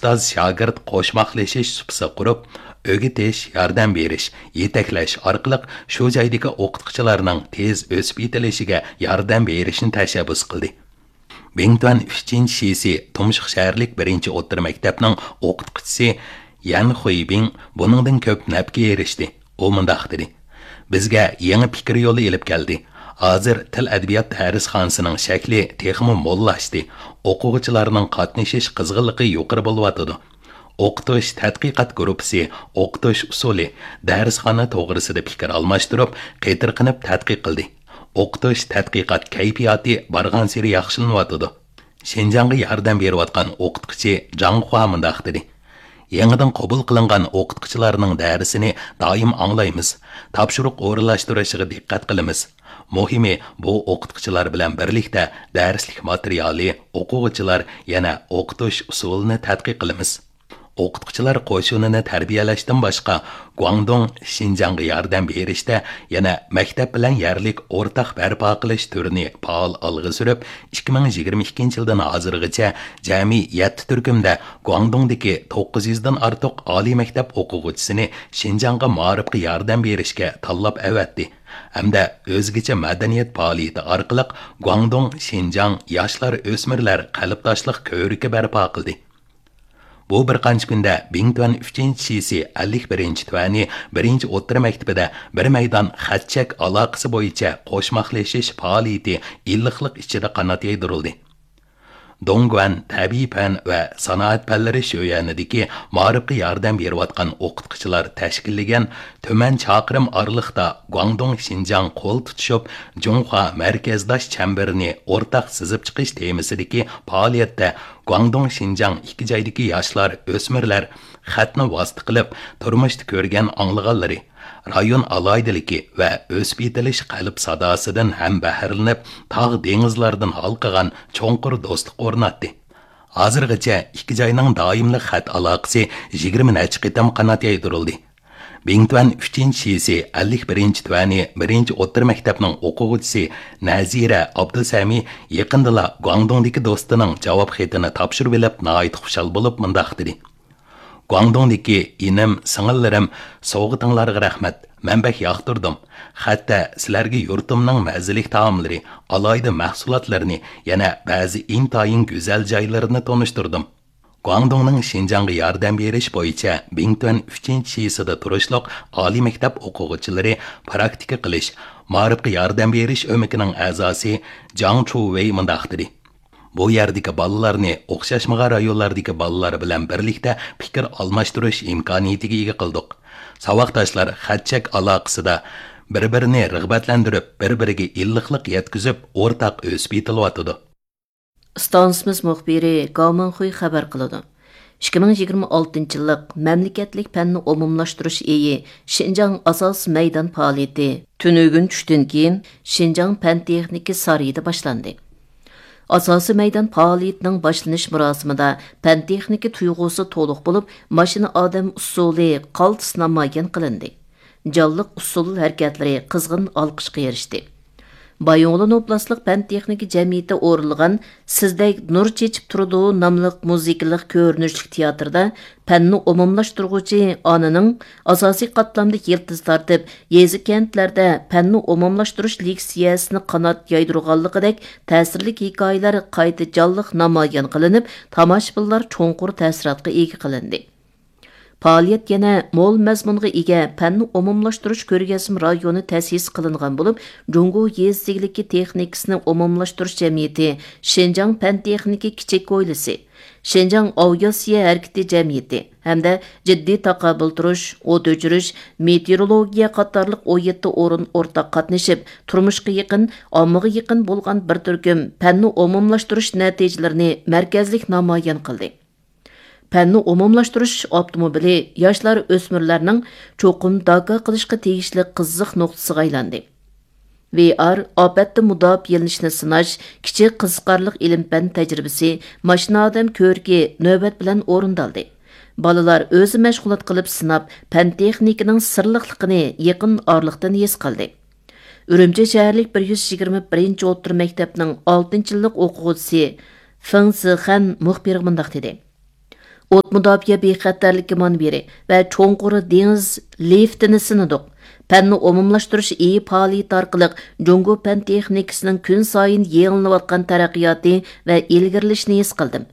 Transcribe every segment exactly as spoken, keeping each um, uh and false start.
ئۇستاز-شاگىرت قوشماقلىشىش سۇپىسى قۇرۇپ، ئۆگىتىش، ياردەم بېرىش، يېتەكلەش ئارقىلىق شۇ جايدىكى ئوقۇتقۇچىلارنىڭ تېز ئۆسۈپ يېتىلىشىگە ياردەم بېرىشنى تەشەببۇس قىلدى. بىڭتۈەن ئۈچىنچى شىسى تۇمشۇق شەھەرلىك بىرىنچى ئوتتۇرا مەكتەپنىڭ ئوقۇتقۇچىسى يەن خۇيبىڭ بۇنىڭدىن كۆپ نەپكە ئېرىشتى. ئۇ مۇنداق دېدى: «بىزگە يېڭى پىكىر يولى ئېلىپ كەلدى. ھازىر تىل-ئەدەبىيات دەرسخانىسىنىڭ شەكلى تېخىمۇ موللاشتى، ئوقۇغۇچىلارنىڭ قاتنىشىش قىزغىنلىقى يۇقىرى بولۇۋاتىدۇ.» ئوقۇتۇش تەتقىقات گۇرۇپپىسى ئوقۇتۇش ئۇسۇلى، دەرسخانا توغرىسىدا پىكىر ئالماشتۇرۇپ، قېتىرقىنىپ تەتقىق قىلدى. ئوقۇتۇش تەتقىقات كەيپىياتى بارغانسېرى ياخشىلىنىۋاتىدۇ. شىنجاڭغا ياردەم بېرىۋاتقان ئوقۇتقۇچى جاڭ خۇا مۇنداق دېدى: «يېڭىدىن قوبۇل قىلىنغان ئوقۇتقۇچىلارنىڭ دەرسىنى دائىم ئاڭلايمىز، تاپشۇرۇق ئورۇنلاشتۇرۇشىغا دىققەت قىلىمىز. مۇھىمى، بۇ ئوقۇتقۇچىلار بىلەن بىرلىكتە دەرسلىك ماتېرىيالى، ئوقۇغۇچىلار، يەنە ئوقۇتۇش ئۇسۇلىنى تەتقىق قىلىمىز.» ئوقۇتقۇچىلار قوشۇنىنى تەربىيەلەشتىن باشقا، گۇاڭدۇڭ شىنجاڭغا ياردەم بېرىشتە يەنە مەكتەپ بىلەن يەرلىك ئورتاق بەرپا قىلىش تۈرىنى پائال ئالغا سۈرۈپ، ئىككى مىڭ يىگىرمە ئىككىنچى يىلدىن ھازىرغىچە جەمئىي يەتتە تۈركۈمدە گۇاڭدۇڭدىكى توققۇز يۈزدىن ئارتۇق ئالىي مەكتەپ ئوقۇغۇچىسىنى شىنجاڭغا مائارىپقا ياردەم بېرىشكە تاللاپ ئەۋەتتى ھەمدە ئۆزگىچە مەدەنىيەت پائالىيىتى ئارقىلىق گۇاڭدۇڭ شىنجاڭ ياشلار ئۆسمۈرلەر قەلبداشلىق كۆۋرۈكى بەرپا قىلدى. بۇ بىر قانچە كۈندە بىڭتۈەن ئۈچىنچى شىسى ئەللىك بىرىنچى تۈەنى بىرىنچى ئوتتۇرا مەكتىپىدە بىر مەيدان خەت-چەك ئالاقىسى بويىچە قوشماقلىشىش پائالىيىتى ئىللىقلىق ئىچىدە قانات يايدۇرۇلدى. دوڭگۇەن تەبىئىي پەن ۋە سانائەت پەنلىرى شۆيۈەنىدىكى مائارىپقا ياردەم بېرىۋاتقان ئوقۇتقۇچىلار تەشكىللىگەن تۈمەن چاقىرىم ئارىلىقتا گۇاڭدۇڭ شىنجاڭ قول تۇتۇشۇپ، جۇڭخۇا مەركەزداش چەمبىرىنى ئورتاق سىزىپ چىقىش تېمىسىدىكى پائالىيەتتە گۇاڭدۇڭ شىنجاڭ ئىككى جايدىكى ياشلار، ئۆسمۈرلەر خەتنى ۋاسىتە قىلىپ تۇرمۇشتا كۆرگەن ئاڭلىغانلىرى، رايون ئالاھىدىلىكى ۋە ئۆسۈپ يېتىلىش قەلب ساداسىدىن ھەم بەھرىلىنىپ، تاغ دېڭىزلاردىن ھالقىغان چوڭقۇر دوستلۇق ئورناتتى. ھازىرغىچە ئىككى جاينىڭ دائىملىق خەت ئالاقىسى يىگىرمە نەچچە قېتىم قانات يايدۇرۇلدى. بىڭتۈەن ئۈچىنچى شىسى ئەللىك بىرىنچى تۈەنى بىرىنچى ئوتتۇرا مەكتەپنىڭ ئوقۇغۇچىسى نەزىرە ئابدۇسەمى يېقىندىلا گۇاڭدۇڭدىكى دوستىنىڭ جاۋاب خېتىنى تاپشۇرۇۋېلىپ ناھايىتى خۇشال بولۇپ مۇنداق دېدى: «گۇاڭدۇڭدىكى ئىنىم، سىڭىللىرىم، سوۋغىتىڭلارغا رەھمەت، مەن بەك ياقتۇردۇم. خەتتە سىلەرگە يۇرتۇمنىڭ مەززىلىك تائاملىرى، ئالاھىدە مەھسۇلاتلىرىنى، يەنە بەزى ئىنتايىن گۈزەل جايلىرىنى تونۇشتۇردۇم.» گۇاڭدۇڭنىڭ شىنجاڭغا ياردەم بېرىش بويىچە بىڭتۈەن ئۈچىنچى شىسىدا تۇرۇشلۇق ئالىي مەكتەپ ئوقۇغۇچىلىرى پراكتىكا قىلىش، مائارىپقا ياردەم بېرىش ئۆمىكىنىڭ ئەزاسى جاڭ چۇۋېي مۇنداق دېدى: «بۇ يەردىكى بالىلارنى ئوخشاشمىغان رايونلاردىكى بالىلار بىلەن بىرلىكتە پىكىر ئالماشتۇرۇش ئىمكانىيىتىگە ئىگە قىلدۇق. ساۋاقداشلار خەت-چەك ئالاقىسىدا بىر-بىرىنى رىغبەتلەندۈرۈپ، بىر-بىرىگە ئىللىقلىق يەتكۈزۈپ، ئورتاق ئۆسۈپ يېتىلىۋاتىدۇ.» ئىستانسىمىز مۇخبىرى گاۋ مىڭخۇي خەۋەر قىلىدۇ. ئىككى مىڭ يىگىرمە ئالتىنچى يىللىق مەملىكەتلىك پەننى ئومۇملاشتۇرۇش ئېيى شىنجاڭ ئاساسىي مەيدان پائالىيىتى تۈنۈگۈن چۈشتىن كېيىن شىنجاڭ پەن تېخنىكا سارىيىدا باشلاندى. ئاساسىي مەيدان پائالىيىتىنىڭ باشلىنىش مۇراسىمىدا پەن تېخنىكا تۇيغۇسى تولۇق بولۇپ، ماشىنا ئادەم ئۇسسۇلى قالتىس نامايان قىلىندى. جانلىق ئۇسسۇل ھەرىكەتلىرى قىزغىن ئالقىشقا ئېرىشتى. بايىنغولىن ئوبلاستلىق پەن تېخنىكا جەمئىيىتى ئورۇنلىغان سىزدەك نۇر چېچىپ تۇرىدۇ ناملىق مۇزىكىلىق كۆرۈنۈشلۈك تىياتىردا پەننى ئومۇملاشتۇرغۇچى ئانىنىڭ ئاساسىي قاتلامدا يىلتىز تارتىپ، يېزا، كەنتلەردە پەننى ئومۇملاشتۇرۇش لېكسىيەسىنى قانات يايدۇرغانلىقىدەك تەسىرلىك ھېكايىلەر قايتا جانلىق نامايان قىلىنىپ، تاماشىبىنلار چوڭقۇر تەسىراتقا ئىگە قىلىندى. پائالىيەت يەنە مول مەزمۇنغا ئىگە پەننى ئومۇملاشتۇرۇش كۆرگەزمە رايونى تەسىس قىلىنغان بولۇپ، جۇڭگو يېزا ئىگىلىكى تېخنىكىسىنى ئومۇملاشتۇرۇش جەمئىيىتى، شىنجاڭ پەن تېخنىكا كىچىك ھويلىسى، شىنجاڭ ئاۋىئاتسىيە ھەرىكىتى جەمئىيىتى ھەمدە جىددىي تاقابىل تۇرۇش، ئوت ئۆچۈرۈش، مېتېئورولوگىيە قاتارلىق ئون يەتتە ئورۇن ئورتاق قاتنىشىپ، تۇرمۇشقا يېقىن، ئاممىغا يېقىن بولغان بىر تۈركۈم پەننى ئومۇملاشتۇرۇش نەتىجىلىرىنى مەركەزلىك نامايان قىلدى. پەننى ئومۇملاشتۇرۇش ئاپتوموبىلى ياشلار، ئۆسمۈرلەرنىڭ چوقۇم داكا قىلىشقا تېگىشلىك قىزىق نۇقتىسىغا ئايلاندى. ۋي ئار ئاپەتتىن مۇداپىئەلىنىشنى سىناش كىچىك قىزىقارلىق ئىلىم-پەن تەجرىبىسى، ماشىنا ئادەم كۆركى نۆۋەت بىلەن ئورۇندالدى. بالىلار ئۆزى مەشغۇلات قىلىپ سىناپ، پەن-تېخنىكىنىڭ سىرلىقلىقىنى يېقىن ئارىلىقتىن ھېس قىلدى. ئۈرۈمچى شەھەرلىك بىر يۈز يىگىرمە بىرىنچى ئوتتۇرا مەكتەپنىڭ ئالتىنچى يىللىق ئوقۇغۇچىسى فېڭ زىخەن مۇخبىرغا مۇنداق دېدى: ئوت مۇداپىئە بىخەتەرلىكى مۇنبىرى ۋە چوڭقۇر دېڭىز لىفتىنى سىنىدۇق. پەننى ئومۇملاشتۇرۇش ئېيى پائالىيىتى ئارقىلىق جۇڭگو پەن تېخنىكىسىنىڭ كۈن سايىن يېڭىلىنىۋاتقان تەرەققىياتى ۋە ئىلگىرىلىشىنى ھېس قىلدىم.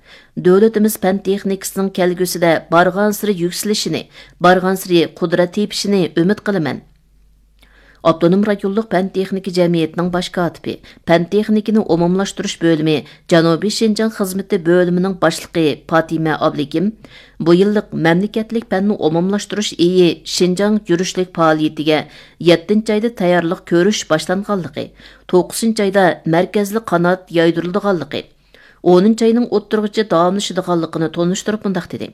دۆلىتىمىز پەن تېخنىكىسىنىڭ كەلگۈسىدە بارغانسېرى يۈكسىلىشىنى، بارغانسېرى قۇدرەت تېپىشىنى ئۈمىد قىلىمەن. ئاپتونوم رايونلۇق پەن تېخنىكا جەمئىيىتىنىڭ باش كاتىپى، پەن تېخنىكىنى ئومۇملاشتۇرۇش بۆلۈمى جەنۇبىي شىنجاڭ خىزمىتى بۆلۈمىنىڭ باشلىقى پاتىمە ئابلىكىم بۇ يىللىق مەملىكەتلىك پەننى ئومۇملاشتۇرۇش ئېيى شىنجاڭ يۈرۈشلۈك پائالىيىتىگە يەتتىنچى ئايدا تەييارلىق كۆرۈش باشلانغانلىقى، توققۇزىنچى ئايدا مەركەزلىك قانات يايدۇرۇلىدىغانلىقى، ئونىنچى ئاينىڭ ئوتتۇرىغىچە داۋاملىشىدىغانلىقىنى تونۇشتۇرۇپ مۇنداق دېدى.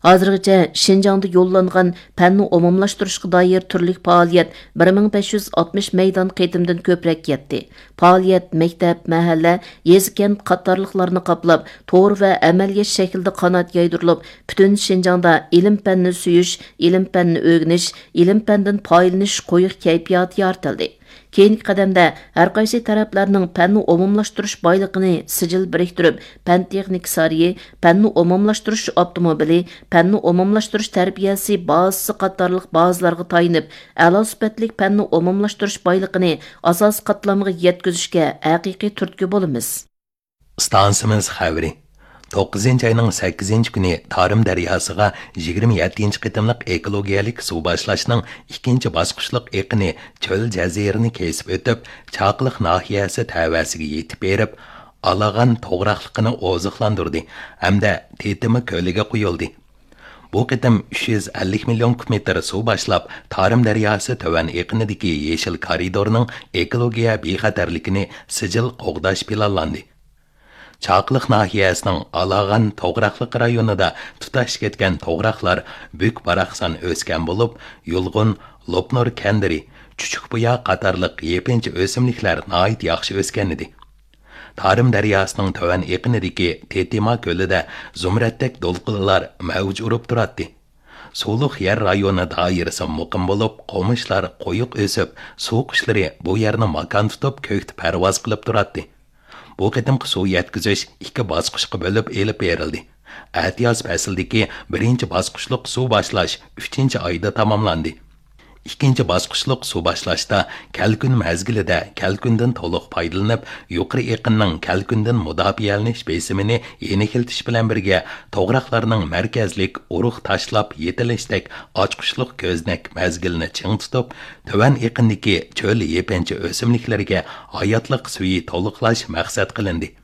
ھازىرغىچە شىنجاڭدا يوللانغان پەننى ئومۇملاشتۇرۇشقا دائىر تۈرلۈك پائالىيەت بىر مىڭ بەش يۈز ئاتمىش مەيدان قېتىمدىن كۆپرەك يەتتى. پائالىيەت مەكتەپ، مەھەللە، يېزا، كەنت قاتارلىقلارنى قاپلاپ، تور ۋە ئەمەلىيەت شەكلىدە قانات يايدۇرۇلۇپ، پۈتۈن شىنجاڭدا ئىلىم-پەننى سۆيۈش، ئىلىم-پەننى ئۆگىنىش، ئىلىم-پەندىن پايدىلىنىش قويۇق كەيپىياتى يارىتىلدى. كېيىنكى قەدەمدە ھەرقايسى تەرەپلەرنىڭ پەننى ئومۇملاشتۇرۇش بايلىقىنى سىجىل بىرىكتۈرۈپ، پەن تېخنىكا سارىيى، پەننى ئومۇملاشتۇرۇش ئاپتوموبىلى، پەننى ئومۇملاشتۇرۇش تەربىيەسى بازىسى قاتارلىق بازىلارغا تايىنىپ، ئەلا سۈپەتلىك پەننى ئومۇملاشتۇرۇش بايلىقىنى ئاساسىي قاتلامغا يەتكۈزۈشكە ھەقىقىي تۈرتكە بولىمىز. ئىستانسىمىز خەۋىرى. توققۇزىنچى ئاينىڭ سەككىزىنچى كۈنى تارىم دەرياسىغا يىگىرمە يەتتىنچى قېتىملىق ئېكولوگىيەلىك سۇ باشلاشنىڭ ئىككىنچى باسقۇچلۇق ئېقىنى چۆل جەزىرىنى كېسىپ ئۆتۈپ، چاقىلىق ناھىيەسى تەۋەسىگە يېتىپ بېرىپ، ئالاغان توغراقلىقىنى ئوزۇقلاندۇردى ھەمدە تېتىما كۆلىگە قۇيۇلدى. بۇ قېتىم ئۈچ يۈز ئەللىك مىليون كۇب مېتىر سۇ باشلاپ، تارىم دەرياسى تۆۋەن ئېقىنىدىكى يېشىل كارىدورنىڭ ئېكولوگىيە بىخەتەرلىكىنى سىجىل قوغداش پىلانلاندى. چاقىلىق ناھىيەسىنىڭ ئالاغان توغراقلىق رايونىدا تۇتاش كەتكەن توغراقلار بۈك-باراقسان ئۆسكەن بولۇپ، يۇلغۇن، لوپنۇر كەندىرى، چۈچۈكبۇيا قاتارلىق يېپىنچا ئۆسۈملۈكلەر ناھايىتى ياخشى ئۆسكەنىدى. تارىم دەرياسىنىڭ تۆۋەن ئېقىنىدىكى تېتىما كۆلىدە زۇمرەتتەك دولقۇنلار مەۋج ئۇرۇپ تۇراتتى. سۇلۇق يەر رايونى دائىرىسى مۇقىم بولۇپ، قومۇشلار قويۇق ئۆسۈپ، سۇ قۇشلىرى بۇ يەرنى ماكان تۇتۇپ، كۆكتە پەرۋاز قىلىپ تۇراتتى. بۇ قېتىمقى سۇ يەتكۈزۈش ئىككى باسقۇچقا بۆلۈپ ئېلىپ بېرىلدى. ئەتىياز پەسلىدىكى بىرىنچى باسقۇچلۇق سۇ باشلاش ئۈچىنچى ئايدا تاماملاندى. ئىككىنچى باسقۇچلۇق سۇ باشلاشتا كەلكۈن مەزگىلىدە كەلكۈندىن تولۇق پايدىلىنىپ، يۇقىرى ئېقىننىڭ كەلكۈندىن مۇداپىئەلىنىش بېسىمىنى يېنىكلىتىش بىلەن بىرگە، توغراقلارنىڭ مەركەزلىك ئۇرۇق تاشلاپ يېتىلىشتەك ئاچقۇچلۇق كۆزنەك مەزگىلىنى چىڭ تۇتۇپ، تۆۋەن ئېقىندىكى چۆل يېپىنچا ئۆسۈملۈكلىرىگە ھاياتلىق سۈيى تولۇقلاش مەقسەت قىلىندى.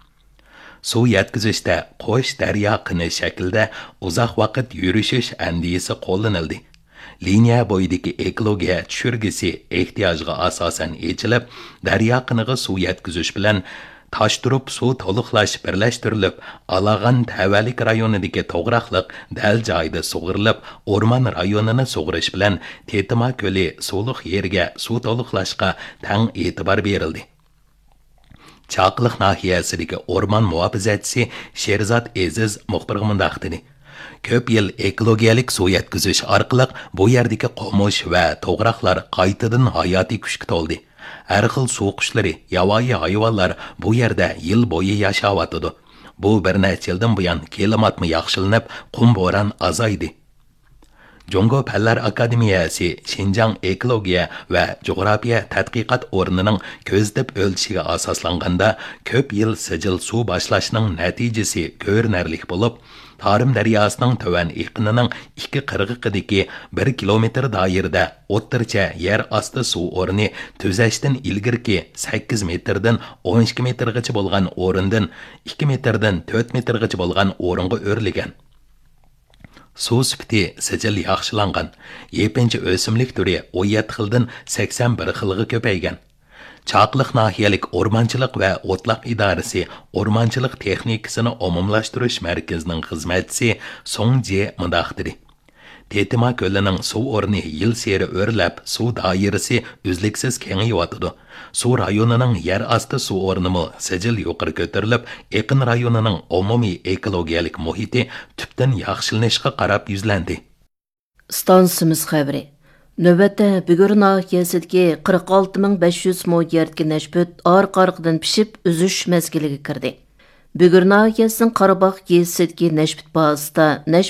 سۇ يەتكۈزۈشتە قوش دەريا قىنى شەكلىدە ئۇزاق ۋاقىت يۈرۈشۈش ئەندىزىسى قوللىنىلدى. لىنىيە بويىدىكى ئېكولوگىيە چۈشۈرگۈسى ئېھتىياجغا ئاساسەن ئېچىلىپ، دەريا قىنىغا سۇ يەتكۈزۈش بىلەن تاشتۇرۇپ سۇ تولۇقلاش بىرلەشتۈرۈلۈپ، ئالاغان تەۋەلىك رايونىدىكى توغراقلىق دەل جايىدا سۇغىرىلىپ، ئورمان رايونىنى سۇغىرىش بىلەن تېتىما كۆلى سۇلۇق يېرىگە سۇ تولۇقلاشقا تەڭ ئېتىبار بېرىلدى. چاقىلىق ناھىيەسىدىكى ئورمان مۇھاپىزەتچىسى شېرزات ئېزىز مۇخبىرغا مۇنداق دېدى: كۆپ يىل ئېكولوگىيەلىك سۇ يەتكۈزۈش ئارقىلىق بۇ يەردىكى قومۇش ۋە توغراقلار قايتىدىن ھاياتىي كۈچكە تولدى. ھەر خىل سۇ قۇشلىرى، ياۋايى ھايۋانلار بۇ يەردە يىل بويى ياشاۋاتىدۇ. بۇ بىر نەچچە يىلدىن بۇيان كىلىماتمۇ ياخشىلىنىپ، قۇم بوران ئازايدى. جۇڭگو پەنلەر ئاكادېمىيەسى شىنجاڭ ئېكولوگىيە ۋە جۇغراپىيە تەتقىقات ئورنىنىڭ كۆزىتىپ ئۆلچىشىگە ئاساسلانغاندا، كۆپ يىل سىجىل سۇ باشلاشنىڭ نەتىجىسى كۆرۈنەرلىك بولۇپ، تارىم دەرياسىنىڭ تۆۋەن ئېقىنىنىڭ ئىككى قىرغىقىدىكى بىر كىلومېتىر دائىرىدە ئوتتۇرىچە يەر ئاستى سۇ ئورنى تۈزەشتىن ئىلگىرىكى سەككىز مېتىردىن ئون ئىككى مېتىرغىچە بولغان ئورۇندىن ئىككى مېتىردىن تۆت مېتىرغىچە بولغان ئورۇنغا ئۆرلىگەن. سۇ سۈپىتى سىجىل ياخشىلانغان، يېپىنچا ئۆسۈملۈك تۈرى ئون يەتتە خىلدىن سەكسەن بىر خىلغا كۆپەيگەن. چاقىلىق ناھىيەلىك ئورمانچىلىق ۋە ئوتلاق ئىدارىسى ئورمانچىلىق تېخنىكىسىنى ئومۇملاشتۇرۇش مەركىزىنىڭ خىزمەتچىسى سۇڭ جې مۇنداق دېدى: تېتىما كۆلىنىڭ سۇ ئورنى يىلسېرى ئۆرلەپ، سۇ دائىرىسى ئۈزلۈكسىز كېڭىيىۋاتىدۇ. سۇ رايونىنىڭ يەر ئاستى سۇ ئورنىمۇ سىجىل يۇقىرى كۆتۈرۈلۈپ، ئېقىن رايونىنىڭ ئومۇمىي ئېكولوگىيەلىك مۇھىتى تۈپتىن ياخشىلىنىشقا قاراپ يۈزلەندى. ئىستانسىمىز خەۋىرى. نۆۋەتتە، بۈگۈر ناھىيەسىدىكى قىرىق ئالتە مىڭ بەش يۈز مو يەردىكى نەشپۈت ئارقا-ئارقىدىن پىشىپ، ئۈزۈش مەزگىلىگە كىردى. بۈگۈر ناھىيەسىنىڭ قاراباغ يېزىسىدىكى نەشپۈت بازىسىدا نەشپۈت